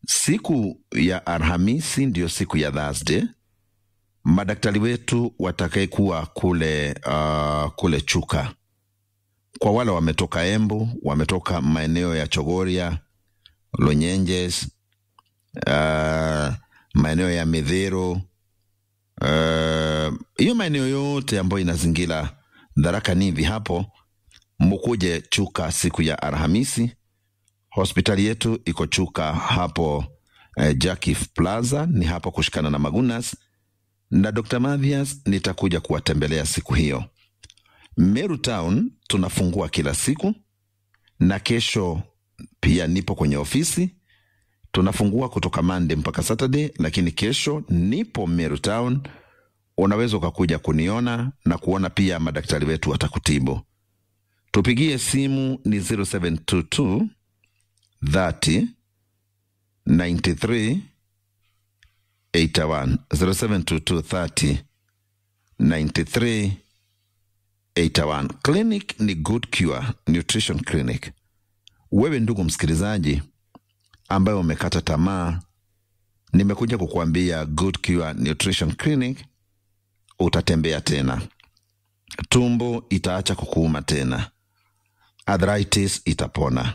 Siku ya Alhamisi ndio siku ya Thursday. Madaktari wetu watakayekuwa kule, ah, kule Chuka. Kwa wale wametoka Embu, wametoka maeneo ya Chogoria, Lonyenjes, ah, maeneo ya Mithiro, ah, hiyo maeneo yote ambayo inazingira Tharaka Nithi hapo, mukuje Chuka siku ya Alhamisi. Hospitali yetu iko Chuka hapo, eh, Jakif Plaza, ni hapo kushikana na Magunas. Na Doctor Mathias nitakuja kuwatembelea siku hiyo. Meru Town tunafungua kila siku, na kesho pia nipo kwenye ofisi. Tunafungua kutoka Monday mpaka Saturday, lakini kesho nipo Meru Town. Unaweza ukakuja kuniona na kuona pia madaktari wetu watakutibu. Tupigie simu ni zero seven two two thirty ninety three eighty one, zero seven two two thirty ninety three eighty one. Clinic ni Good Cure Nutrition Clinic. Wewe ndugu msikilizaji ambaye umekata tamaa, nimekuja kukuambia Good Cure Nutrition Clinic, utatembea tena. Tumbo itaacha kukuuma tena. Arthritis itapona.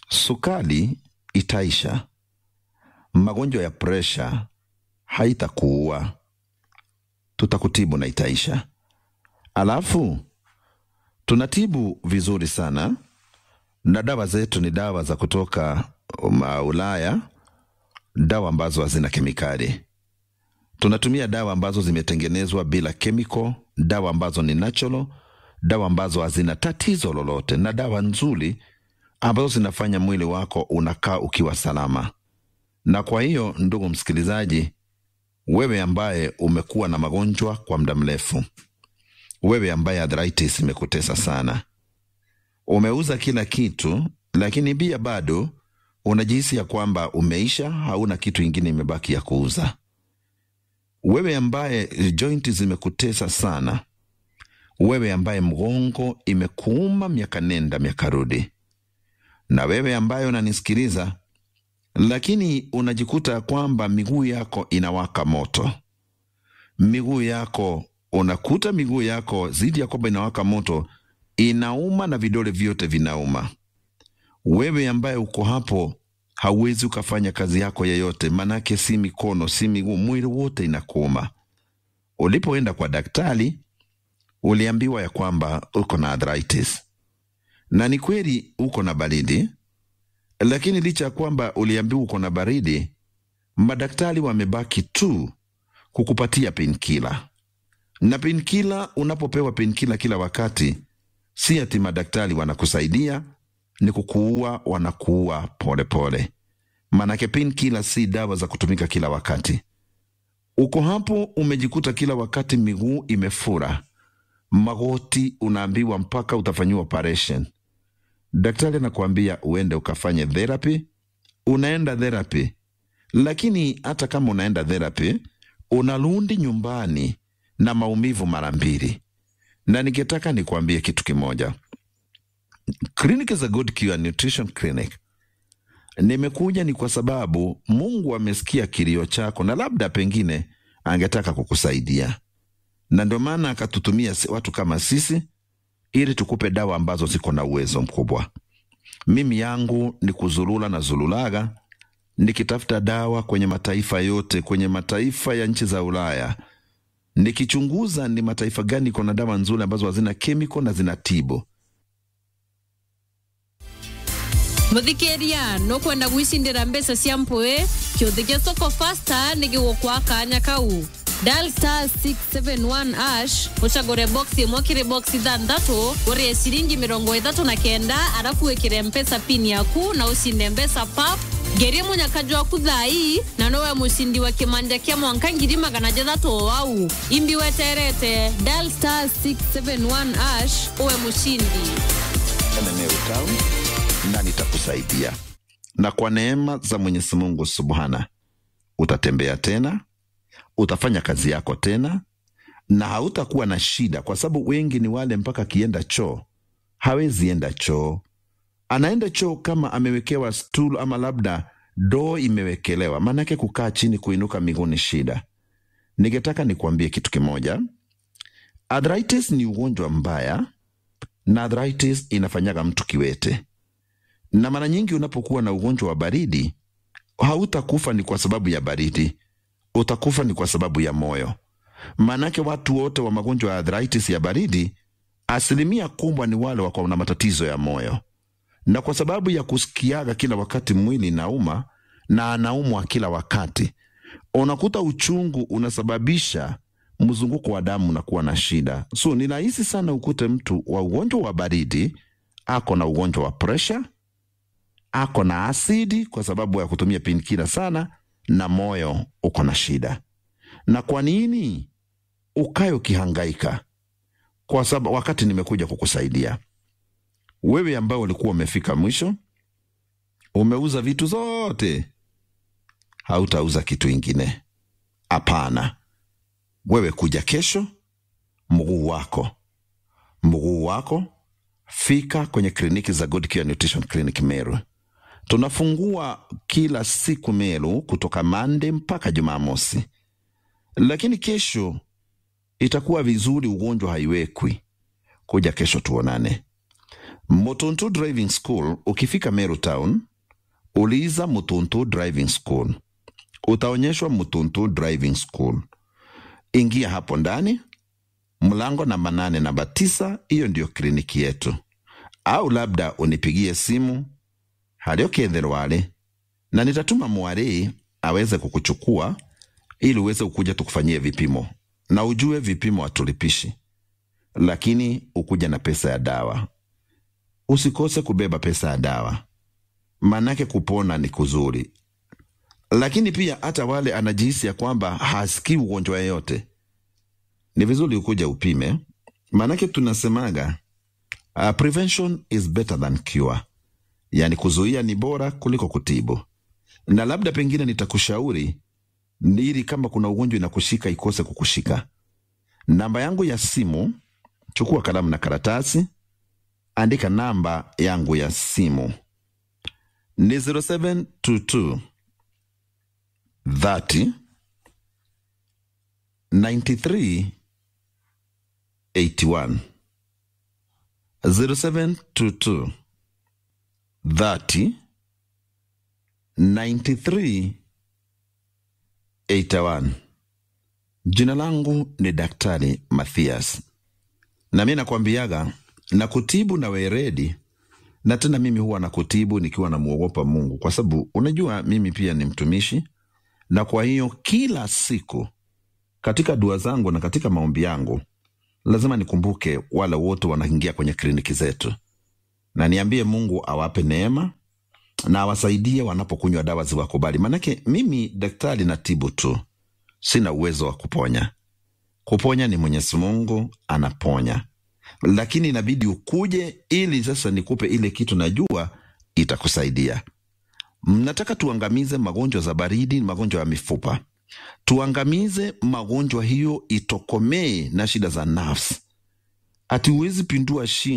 Sukari itaisha. Magonjwa ya pressure haitakuua. Tutakutibu na itaisha. Alafu, tunatibu vizuri sana, na dawa zetu ni dawa za kutoka, um, Ulaya, dawa ambazo hazina kemikali. Tunatumia dawa ambazo zimetengenezwa bila chemical, dawa ambazo ni natural, dawa ambazo hazina tatizo lolote, na dawa nzuri ambazo zinafanya mwili wako unakaa ukiwa salama. Na kwa hiyo, ndugu msikilizaji, wewe ambaye umekuwa na magonjwa kwa muda mrefu, wewe ambaye arthritis imekutesa sana, umeuza kila kitu, lakini pia bado unajihisi ya kwamba umeisha, hauna kitu ingine imebaki ya kuuza. Wewe ambaye joint zimekutesa sana, wewe ambaye mgongo imekuuma miaka nenda miaka rudi, na wewe ambaye unanisikiliza, lakini unajikuta kwamba miguu yako inawaka moto, miguu yako, unakuta miguu yako zidi ya kwamba inawaka moto, inauma na vidole vyote vinauma. Wewe ambaye uko hapo, Hauwezi ukafanya kazi yako yeyote, manake si mikono, si miguu, mwili wote inakuuma. Ulipoenda kwa daktari, uliambiwa ya kwamba uko na arthritis. Na ni kweli uko na baridi, lakini licha ya kwamba uliambiwa uko na baridi, madaktari wamebaki tu kukupatia painkiller. Na painkiller, unapopewa painkiller kila wakati, si ati madaktari wanakusaidia, ni kukuua, wanakuua pole pole. Manake painkiller si dawa za kutumika kila wakati. Uko hapo umejikuta kila wakati miguu imefura, magoti unaambiwa mpaka utafanyiwa operation. Daktari anakuambia uende ukafanye therapy, unaenda therapy. Lakini hata kama unaenda therapy, unarudi nyumbani na maumivu mara mbili. Na ningetaka nikuambie kitu kimoja. Clinic za Good Cure Nutrition Clinic, nimekuja ni kwa sababu Mungu amesikia kilio chako na labda pengine angetaka kukusaidia. Na ndio maana akatutumia si-, watu kama sisi ili tukupe dawa ambazo ziko na uwezo mkubwa. Mimi yangu ni kuzulula na zululaga, nikitafuta dawa kwenye mataifa yote, kwenye mataifa ya nchi za Ulaya, nikichunguza ni mataifa gani iko na dawa nzuri ambazo hazina chemical na zinatibu. Muthikiria, nukwenda gwicindira mbeca cia mpui? Kiuthi gia Soko Fasta ni gigukwa kanya kau. Dial star six seven one hash, ucagure box imwe kiri box ithanthatu, urie ciringi mirongo ithatu na kenda, arafu wikire Mpesa pin yaku na ucinde mbeca pap. Ngerie munyaka jwaku thaa ii, na nowe mucindi wa kimanja kia mwanka ngiri magana jathatu o au. Imbi weterete, dial star six seven one hash, uwe mucindi. Ene Meru Town, na nitakusaidia. Na kwa neema za Mwenyezi Mungu Subhana, utatembea tena, utafanya kazi yako tena, na hautakuwa na shida, kwa sababu wengi ni wale mpaka akienda choo, hawezi enda choo. Anaenda choo kama amewekewa stool ama labda ndoo imewekelewa, maanake kukaa chini kuinuka miguu ni shida. Ningetaka nikuambie kitu kimoja. Arthritis ni ugonjwa mbaya, na arthritis inafanyaga mtu kiwete. Na mara nyingi unapokuwa na ugonjwa wa baridi, hautakufa ni kwa sababu ya baridi, utakufa ni kwa sababu ya moyo. Maanake watu wote wa magonjwa ya arthritis ya baridi, asilimia kubwa ni wale wako na matatizo ya moyo. Na kwa sababu ya kusikiaga kila wakati mwili inauma na anaumwa kila wakati, unakuta uchungu unasababisha mzunguko wa damu unakuwa na shida. So, ni rahisi sana ukute mtu wa ugonjwa wa baridi ako na ugonjwa wa pressure, ako na asidi kwa sababu ya kutumia painkiller sana, na moyo uko na shida. Na kwa nini ukae ukihangaika? Kwa sababu wakati nimekuja kukusaidia, wewe ambao ulikuwa umefika mwisho, umeuza vitu zote, hautauza kitu ingine. Hapana. Wewe kuja kesho, mguu wako. Mguu wako, fika kwenye kliniki za Good Cure Nutrition Clinic Meru. Tunafungua kila siku Meru kutoka Monday mpaka Jumamosi. Lakini kesho itakuwa vizuri, ugonjwa haiwekwi. Kuja kesho tuonane. Mutuntu Driving School, ukifika Meru Town, uliza Mutuntu Driving School. Utaonyeshwa Mutuntu Driving School. Ingia hapo ndani, mlango namba nane, namba tisa, hiyo ndio kliniki yetu. Au labda unipigie simu, haria ukethirwa ari, na nitatuma mwari aweze kukuchukua ili uweze kukuja tukufanyie vipimo. Na ujue vipimo hatulipishi, lakini ukuja na pesa ya dawa. Usikose kubeba pesa ya dawa, maanake kupona ni kuzuri. Lakini pia hata wale anajihisi ya kwamba hasikii ugonjwa yeyote, ni vizuri ukuja upime, maanake tunasemaga, uh, prevention is better than cure. Yani, kuzuia ni bora kuliko kutibu. Na labda pengine nitakushauri, ili kama kuna ugonjwa inakushika, ikose kukushika. Namba yangu ya simu, chukua kalamu na karatasi, andika namba yangu ya simu. Ni zero seven two two thirty ninety three eighty one. Zero seven two two thirty nine three eight one. Jina langu ni Daktari Mathias. Na mimi nakwambiaga, na kutibu na weredi, na tena mimi huwa na kutibu nikiwa na muogopa Mungu, kwa sababu unajua mimi pia ni mtumishi, na kwa hiyo kila siku katika dua zangu na katika maombi yangu, lazima nikumbuke wale wote wanaingia kwenye kliniki zetu, na niambie Mungu awape neema na awasaidie wanapokunywa dawa ziwakubali. Manake mimi daktari natibu tu, sina uwezo wa kuponya. Kuponya ni Mwenyezi Mungu anaponya, lakini inabidi ukuje ili sasa nikupe ile kitu najua itakusaidia. Mnataka tuangamize magonjwa za baridi, magonjwa ya mifupa, tuangamize magonjwa hiyo itokomee na shida za nerves. Ati huwezi pindua shingo